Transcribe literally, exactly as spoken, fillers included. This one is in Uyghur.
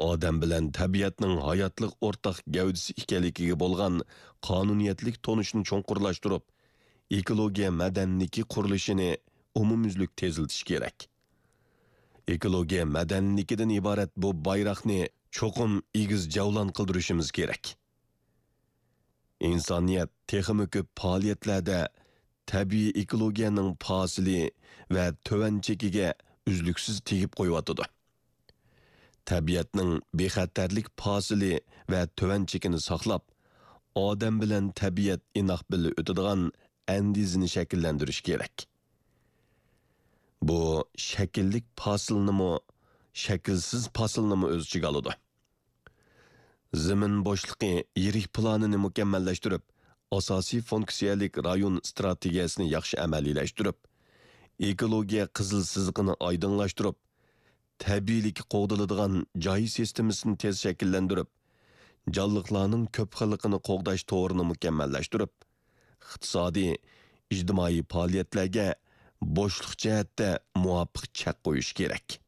ئادەم بىلەن تەبىئەتنىڭ ھاياتلىق ئورتاق گەۋدىسى ئىكەنلىكىگە بولغان قانۇنىيەتلىك تونۇشنى چوڭقۇرلاشتۇرۇپ، ئېكولوگىيە مەدەنىيلىكى قۇرۇلۇشىنى ئومۇميۈزلۈك تېزلىتىش كېرەك. ئېكولوگىيە مەدەنىيلىكىدىن ئىبارەت بۇ بايراقنى چوقۇم ئېگىز جەۋلان قىلدۇرۇشىمىز كېرەك. ئىنسانىيەت تېخىمۇ كۆپ پائالىيەتلەردە تەبىئىي ئېكولوگىيەنىڭ پاسىلى ۋە تۆۋەن چېكىگە ئۈزلۈكسىز تېگىپ قويۇۋاتىدۇ. تەبىئەتنىڭ بىخەتەرلىك پاسىلى ۋە تۆۋەن چېكىنى ساقلاپ، ئادەم بىلەن تەبىئەت ئىناق بىللە ئۆتىدىغان ئەندىزىنى شەكىللەندۈرۈش كېرەك. بۇ شەكىللىك پاسىلنىمۇ، شەكىلسىز پاسىلنىمۇ ئۆز ئىچىگە ئالىدۇ. زېمىن بوشلۇقى يىرىك پىلانىنى مۇكەممەللەشتۈرۈپ، ئاساسىي فۇنكسىيەلىك رايون ئىستراتېگىيەسىنى ياخشى ئەمەلىيلەشتۈرۈپ، ئېكولوگىيە قىزىل سىزىقىنى ئايدىڭلاشتۇرۇپ، تەبىئىيلىككە قوغدىلىدىغان جاي سىستېمىسىنى تېز شەكىللەندۈرۈپ، جانلىقلارنىڭ كۆپ خىللىقىنى قوغداش تورىنى مۇكەممەللەشتۈرۈپ، ئىقتىسادىي، ئىجتىمائىي پائالىيەتلەرگە بوشلۇق جەھەتتە مۇۋاپىق چەك قويۇش كېرەك.